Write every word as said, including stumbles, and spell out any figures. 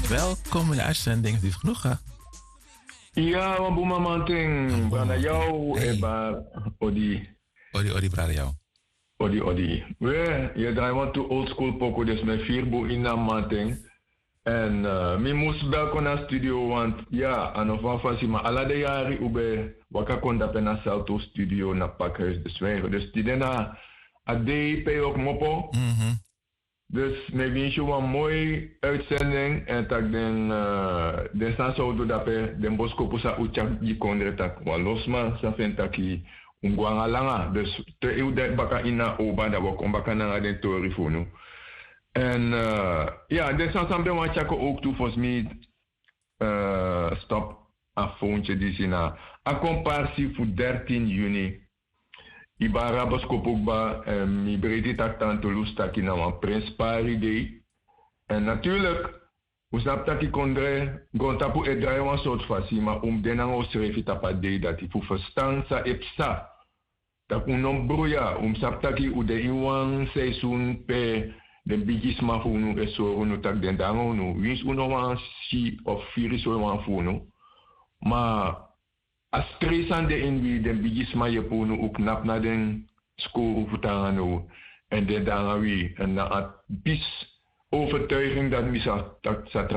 Welkom in de uitzending, lief genoeg, hè? Ya, wan bun mamanten, brada Yaw, e bar, odi. Odi, odi, brada Yaw. Odi, odi. We, yu e drai wantu old school poku, dus mi e firi bun ini a mamanten. Èn, eh, mi mus bel kon na studio, want ya, a no fu wan fasi, ma ala den yari un ben waka kon dape na Salto studio na Pakhuis de Zwijger. Dus tide na a dei pe yu o kmopo. Dus mi e winsi yu wan moi uitzending, èn tak' den, eh, den sani san un du dape, den boskopu san un tyari gi kondre, tak' wan lo sma sa feni taki un go nanga langa. Dus te un de baka ini a oba, dan wi o kon baka nanga den tori fu unu. Èn, eh, ya, den sani san mi ben wani tyari kon owktu, fosi mi, eh, stop a fowntye disi, na a komparsi fu dertien juni. Yu ben abi a boskopu kba, èn mi breiti taki Tante Loes taki na wan prenspari dei. Èn natuurlik, un sabi taki kondre, grontapu e drai wan sortu fasi, ma un mus de nanga unsrefi tapu a dei dati fu ferstan san e psa. Tak' un no mus bruya, un mus sabi taki un de ini wan seisun pe den bigisma fu unu e sori unu taki den de nanga unu, winsi un no wani si of firi sowan fu unu. Ma a strei san de ini wi, den bigisma yepi unu, un knapu na den skowru fu tan nanga now, èn den de nanga wi, èn na a pisi overtuiging dati mi sa, dati sa